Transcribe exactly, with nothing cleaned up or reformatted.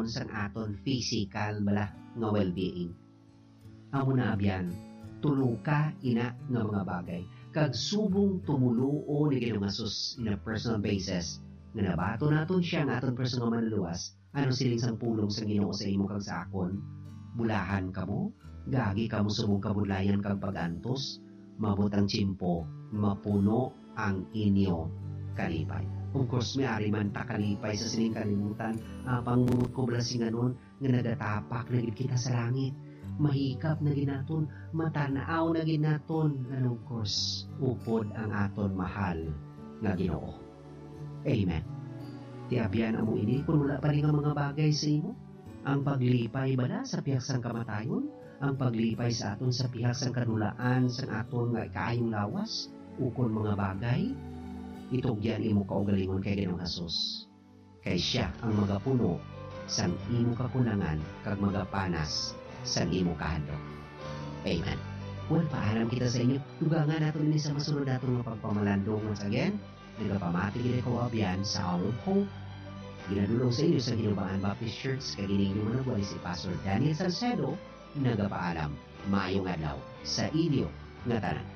sang aton physical bala nga well-being. Amo na, abyan, tulo ka ina nga mga bagay, kag subong tumoluo ni Ginoong Jesus in a personal basis, nga nabaton naton siya nga aton personal nga manlulowas, ano siling sang pulong sang Ginoo sa imo kag sa akon? Bulahan kamo, gagi kamo subong kabudlayan kag pag-antos, mabot ang tiyempo, mapuno ang inyo kalipay. Of course, may ari man ta kalipay sa sining kalibutan, apang mumot ko bala singanon nga nagatapak na gid kita sa langit. Mahikap na gid naton, matanaw na gid naton, and of course, upod ang aton mahal nga Ginoo. Amen. Ti abyan, amo ini, kun wala pa ni nga mga bagay sa imo, ang paglipay bala sa pihak sang kamatayon, ang paglipay sa aton sa pihak sang kadulaan sang aton nga kaayong lawas, ukon mga bagay, itugyan imo kaugalingon kay Ginoong Jesus. Kay siya ang magapuno sang imo kakulangan kag magapanas sang imo kahadlok. Amen. Well, paalam kita sa inyo. Dugangan nato ini sa masunod nato nga pagpamalandong. Once again, nagapamati gid ako, abyan, sa Hour of Hope. Ginadul-ong sa inyo sa Hinubaan Baptist Church, kag ini inyo manugway si Pastor Daniel Salcedo, nagapaalam. Maayong adlaw sa inyo nga tanan.